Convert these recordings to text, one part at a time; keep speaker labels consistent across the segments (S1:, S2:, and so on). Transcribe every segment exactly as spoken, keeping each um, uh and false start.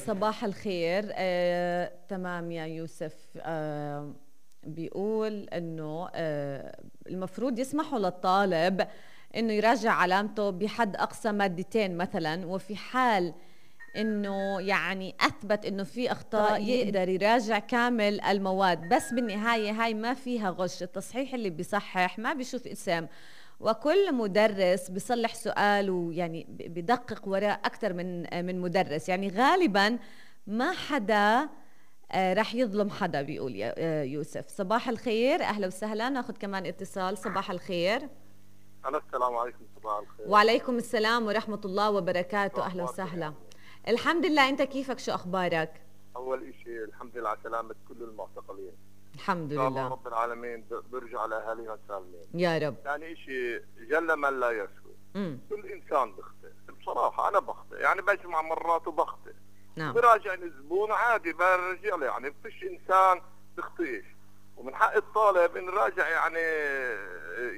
S1: صباح الخير. آه، تمام يا يوسف. آه، بيقول انه آه، المفروض يسمحوا للطالب انه يراجع علامته بحد اقصى مادتين مثلا، وفي حال انه يعني اثبت انه في اخطاء يقدر يراجع كامل المواد، بس بالنهايه هاي ما فيها غش. التصحيح اللي بيصحح ما بيشوف اسم، وكل مدرس بيصلح سؤال ويعني بدقق وراء اكثر من من مدرس، يعني غالبا ما حدا آه رح يظلم حدا. بيقول يا آه يوسف. صباح الخير، اهلا وسهلا. ناخذ كمان اتصال. صباح الخير.
S2: أنا السلام عليكم. صباح الخير.
S1: وعليكم السلام ورحمة الله وبركاته. أهلا وسهلا.
S2: يعني.
S1: الحمد لله، أنت كيفك؟ شو أخبارك؟
S2: أول إشي الحمد لله على سلامة كل المعتقلين.
S1: الحمد
S2: لله. إن شاء
S1: لله
S2: الله رب العالمين بيرجع لأهالينا سالمين
S1: يا رب.
S2: ثاني إشي جل من لا يسوي.
S1: مم.
S2: كل إنسان بخطئ، بصراحة أنا بخطئ، يعني بجمع مرات وبخطئ.
S1: نعم.
S2: براجع الزبون عادي برجع له، يعني فيش إنسان بخطئش، ومن حق الطالب إن راجع يعني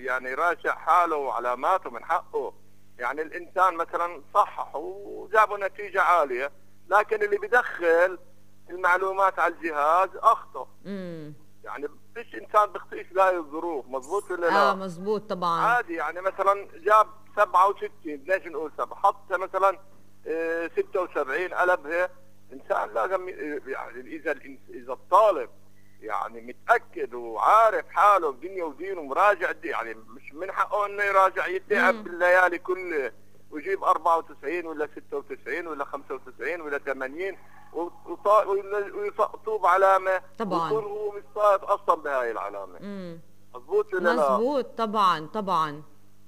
S2: يعني راجع حاله وعلاماته من حقه. يعني الإنسان مثلا صحح وجابوا نتيجة عالية، لكن اللي بدخل المعلومات على الجهاز أخطأ.
S1: امم
S2: يعني فيش إنسان بخطئش بهاي الظروف، مظبوط ولا لا؟
S1: اه مزبوط طبعا.
S2: عادي، يعني مثلا جاب سبعة وستين، ليش نقول سبعة؟ حط مثلا اه ستة وسبعين قلبها. إنسان لازم يعني إذا إذا الطالب يعني متأكد وعارف حاله الدنيا ودين ومراجع، يعني مش من حقه انه يراجع يتعب بالليالي كله ويجيب أربعة وتسعين ولا ستة وتسعين ولا خمسة وتسعين ولا ثمانين ويسقطوه بعلامة
S1: طبعا،
S2: ويكون هو مش صايد اصلا بهاي العلامة.
S1: امم
S2: مظبوط ولا لا؟
S1: مزبوط طبعا طبعا.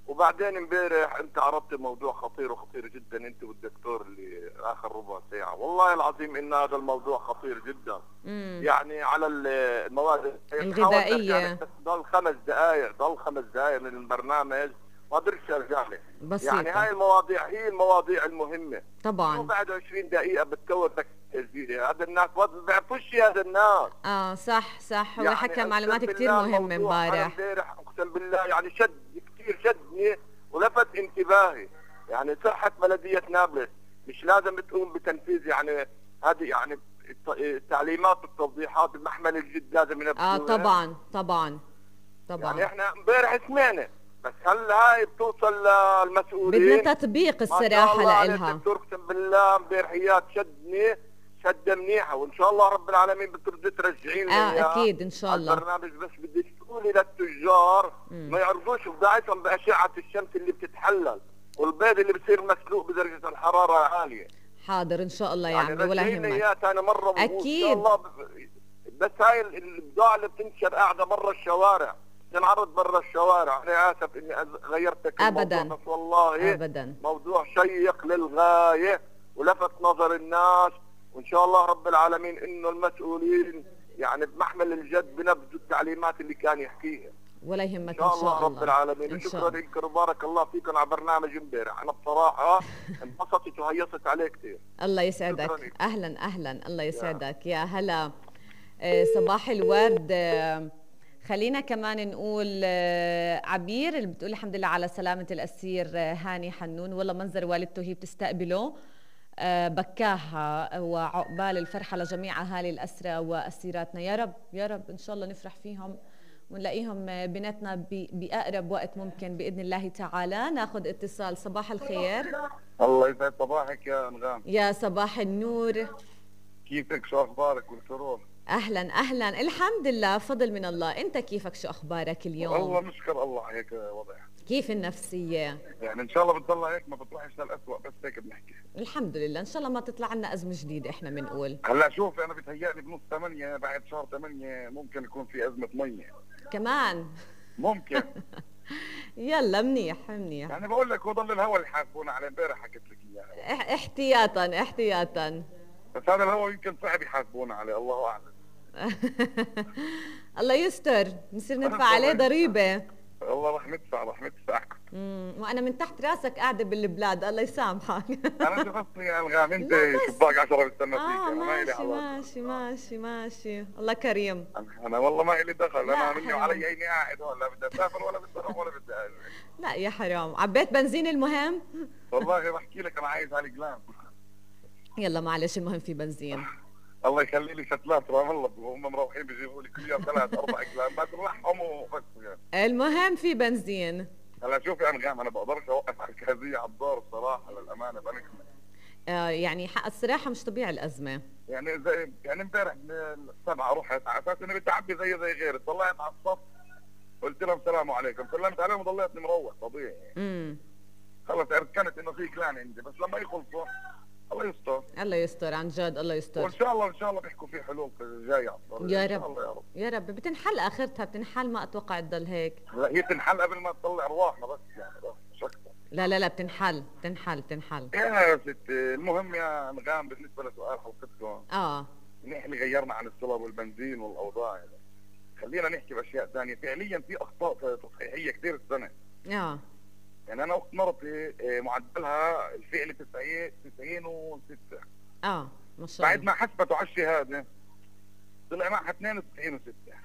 S2: وبعدين امبارح انت عرضت موضوع خطير وخطير جدا، انت والدكتور اللي اخر ربع ساعه، والله العظيم ان هذا الموضوع خطير جدا.
S1: مم.
S2: يعني على المواد
S1: الغذائيه،
S2: يعني ضل خمس دقائق ضل خمس دقائق من البرنامج ما قدرتش ارجع لك.
S1: بسيطة.
S2: يعني هاي المواضيع هي المواضيع المهمه
S1: طبعا.
S2: وبعد عشرين دقيقه بتكون لك تسجيل. هذا الناس ما بيعرفوش هذا الناس.
S1: اه صح صح. هو
S2: يعني
S1: حكى معلومات كثير مهمه امبارح.
S2: امبارح اقسم بالله يعني شد كثير شدني ولفت انتباهي. يعني صحة بلدية نابلس مش لازم تقوم بتنفيذ يعني هذه يعني التعليمات والتوضيحات بمحمل الجد لازم ينفذوها.
S1: اه طبعا طبعا طبعا.
S2: يعني احنا امبارح سمعنا، بس هل هاي بتوصل للمسؤولين؟
S1: بدنا تطبيق الصراحة لإلها.
S2: الدكتور اقسم بالله امبارحيات شدني شدة منيحة، وان شاء الله رب العالمين بترضي ترجعين لي
S1: اه اكيد ان شاء الله
S2: البرنامج. بس بدك تقولي للتجار
S1: مم.
S2: ما يعرضوش بضاعتهم بأشعة الشمس اللي بتتحلل والبيض اللي بصير مسلوق بدرجة الحرارة عالية.
S1: حاضر ان شاء الله يا
S2: يعني
S1: عمي ولا يهمك.
S2: اياها ثاني مرة
S1: اكيد.
S2: ان شاء الله. بس هاي البضاعة اللي بتنشر قاعدة برا الشوارع تنعرض برا الشوارع. انا اسف اني غيرتك
S1: ابدا،
S2: بس والله
S1: ابدا
S2: موضوع شيق للغاية ولفت نظر الناس، وان شاء الله رب العالمين انه المسؤولين يعني بمحمل الجد بنفذوا التعليمات اللي كان يحكيها.
S1: ولا يهمك
S2: ان شاء الله, الله رب العالمين. شكرا لكم وبارك الله فيكم على برنامج امبارح. انا بصراحه انبسطت وهيصت عليه كثير.
S1: الله يسعدك. اهلا اهلا. الله يسعدك يا هلا. آه صباح الورد. آه خلينا كمان نقول آه عبير اللي بتقول الحمد لله على سلامه الاسير آه هاني حنون. والله منظر والدته هي بتستقبله آه بكاها، وعقبال الفرحه لجميع اهالي الاسرى واسيراتنا. يا رب يا رب ان شاء الله نفرح فيهم ونلاقيهم بيناتنا بأقرب وقت ممكن بإذن الله تعالى. ناخذ اتصال. صباح الخير.
S2: الله يسعد صباحك يا أنغام.
S1: يا صباح النور.
S2: كيفك؟ شو أخبارك والسرور؟
S1: أهلا أهلا. الحمد لله فضل من الله. أنت كيفك؟ شو أخبارك اليوم؟
S2: والله نشكر الله هيك وضع.
S1: كيف النفسية؟
S2: يعني إن شاء الله بتضل هيك ما بتروحش للأسوأ، بس هيك بنحكي.
S1: الحمد لله إن شاء الله ما تطلع لنا أزمة جديدة. إحنا بنقول
S2: هلا شوف أنا بتهيألي بنص ثمانية بعد شهر ثمانية ممكن يكون في أزمة مية
S1: كمان
S2: ممكن.
S1: يلا منيح منيح.
S2: يعني بقول لك هو ضل الهوا اللي حاسبونا عليه امبارح حكيت لك اياها
S1: احتياطا احتياطا.
S2: بس هذا الهوا يمكن صعب يحاسبونا عليه، الله اعلم.
S1: الله يستر نصير ندفع عليه ضريبه.
S2: والله رح ندفع رح ندفع.
S1: امم وانا من تحت راسك قاعده بالبلاد. الله يسامحك.
S2: انا شفتني يا انغام انت شباك عشرة بستنى فيك.
S1: اه
S2: انا
S1: ماشي ماشي ماشي ماشي. الله كريم.
S2: انا والله ما لي دخل. انا مني وعلي عيني قاعد هون، لا بدي اسافر ولا بدي اروح ولا بدي اجي.
S1: لا يا حرام. عبيت بنزين المهم.
S2: والله بحكي لك انا عايز على الجلام.
S1: يلا معلش المهم في بنزين.
S2: الله يخلي لي شتلات رام الله وهم مروحين بيجيبوا لي كل يوم ثلاث اربع كلام ما ترحم وفكوا يعني.
S1: المهم في بنزين.
S2: هلا شوفي انغام انا بقدرش اوقف على الكازيه على الدار بصراحه للامانه بنكمل.
S1: آه يعني حق الصراحه مش طبيعي الازمه.
S2: يعني زي يعني امبارح السبعه رحت على اساس اني بدي اعبي زي زي غيري، طلعت على الصف قلت لهم السلام عليكم، سلمت عليهم وضليتني مروح طبيعي.
S1: امم
S2: خلص عرفت انه في كلان عندي، بس لما يخلصوا الله يستر.
S1: الله يستر عن جد، الله يستر.
S2: وان شاء الله ان شاء الله بيحكوا في حلول جايه على الطريق.
S1: يا
S2: ان شاء
S1: رب
S2: الله يا رب
S1: يا رب بتنحل اخرتها، بتنحل، ما اتوقع تضل هيك.
S2: لا هي تنحل قبل ما تطلع ارواحنا بس يعني بس مش اكثر.
S1: لا لا لا بتنحل بتنحل بتنحل.
S2: يا ستي المهم يا انغام بالنسبه لسؤال حلقتكم،
S1: اه
S2: نحن غيرنا عن السولار والبنزين والاوضاع يعني. خلينا نحكي باشياء ثانيه، فعليا في اخطاء تصحيحيه كثير السنه.
S1: اه
S2: يعني انا اخت مرتي معدلها الفعلي تسعين تسعين وستة.
S1: اه ما شاء الله.
S2: بعد ما حسبته على الشهاده طلع معها اثنين وتسعين وستة.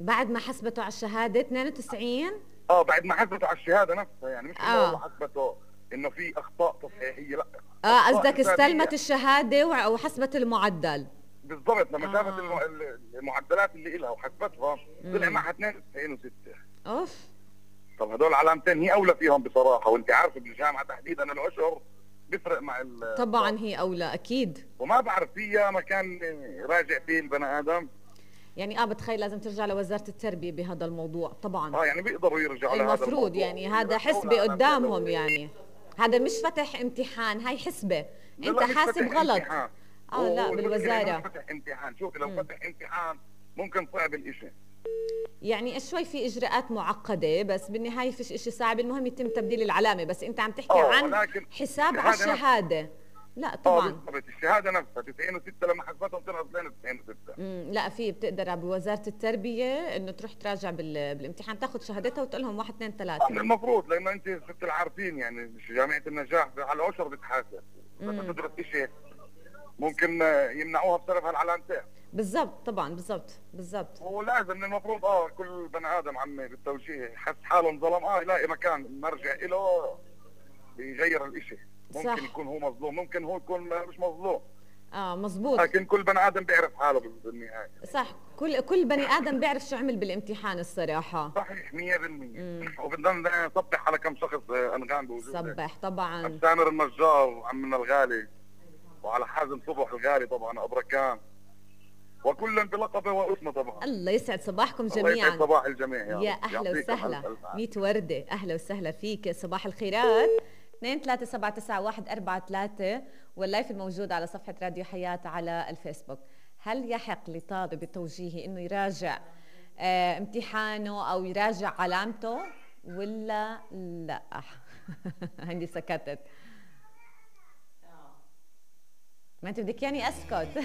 S1: بعد ما حسبته على الشهاده اثنين وتسعين؟
S2: اه بعد ما حسبته على الشهاده نفسها، يعني مش
S1: آه.
S2: انه حسبته انه في اخطاء تصحيحيه، لا
S1: اه قصدك استلمت الشهاده وحسبت المعدل.
S2: بالضبط. لما
S1: آه.
S2: شافت المعدلات اللي إلها وحسبتها طلع معها اثنين وتسعين وستة.
S1: اوف.
S2: طب هدول علامتين هي اولى فيهم بصراحه، وانت عارفه بالجامعه تحديدا الاشهر بيفرق مع ال
S1: طبعا هي اولى اكيد.
S2: وما بعرف فيها مكان راجع فيه البني ادم.
S1: يعني اه بتخيل لازم ترجع لوزاره التربيه بهذا الموضوع طبعا.
S2: اه يعني بيقدروا يرجعوا لهذا
S1: المفروض يعني هذا حسبه قدامهم، يعني هذا مش فتح امتحان، هاي حسبه انت حاسب غلط.
S2: امتحان.
S1: اه لا بالوزاره
S2: مش فتح امتحان. شوفي لو فتح امتحان ممكن صعب الاشي،
S1: يعني شوي في اجراءات معقده، بس بالنهايه فيش اشي صعب، المهم يتم تبديل العلامه. بس انت عم تحكي عن حساب على الشهاده. لا طبعا.
S2: اه بالضبط الشهاده نفسها تسعين وستة لما حسبتهم طلعت تسعين وستة.
S1: امم لا في بتقدر بوزاره التربيه انه تروح تراجع بال... بالامتحان، تاخذ شهادتها وتقول لهم واحد اثنين ثلاثه.
S2: المفروض لانه انت ست العارفين يعني جامعه النجاح على العشر بتحاسب، بدها تدرس شيء ممكن يمنعوها بسبب هالعلامتين.
S1: بالضبط طبعا بالضبط بالضبط.
S2: ولازم المفروض اه كل بني ادم عمي بالتوجيه يحس حاله انظلم اه يلاقي مكان مرجع له يغير الاشي. ممكن صح. يكون هو مظلوم، ممكن هو يكون مش مظلوم.
S1: اه مزبوط.
S2: لكن كل بني ادم بيعرف حاله بالنهايه.
S1: صح، كل كل بني ادم بيعرف شو عمل بالامتحان الصراحه.
S2: صحيح مية بالمية. وبدنا نصبح على كم شخص انغام بوجودك.
S1: صبح طبعا.
S2: عبد سامر النجار عمنا الغالي، وعلى حازم صبح الغالي طبعا ابركان، وكل بلقبه واسمه طبعا.
S1: الله يسعد صباحكم جميعا.
S2: الله يسعد صباح الجميع يا,
S1: يا اهلا وسهلا. ميت ورده اهلا وسهلا فيك. صباح الخيرات. اثنين ثلاثة سبعة تسعة واحد أربعة ثلاثة واللايف الموجود على صفحة راديو حياة على الفيسبوك. هل يحق لطالب التوجيهي انه يراجع اه امتحانه او يراجع علامته ولا لا؟ عندي سكتت. ما انت بدك يعني اسكت.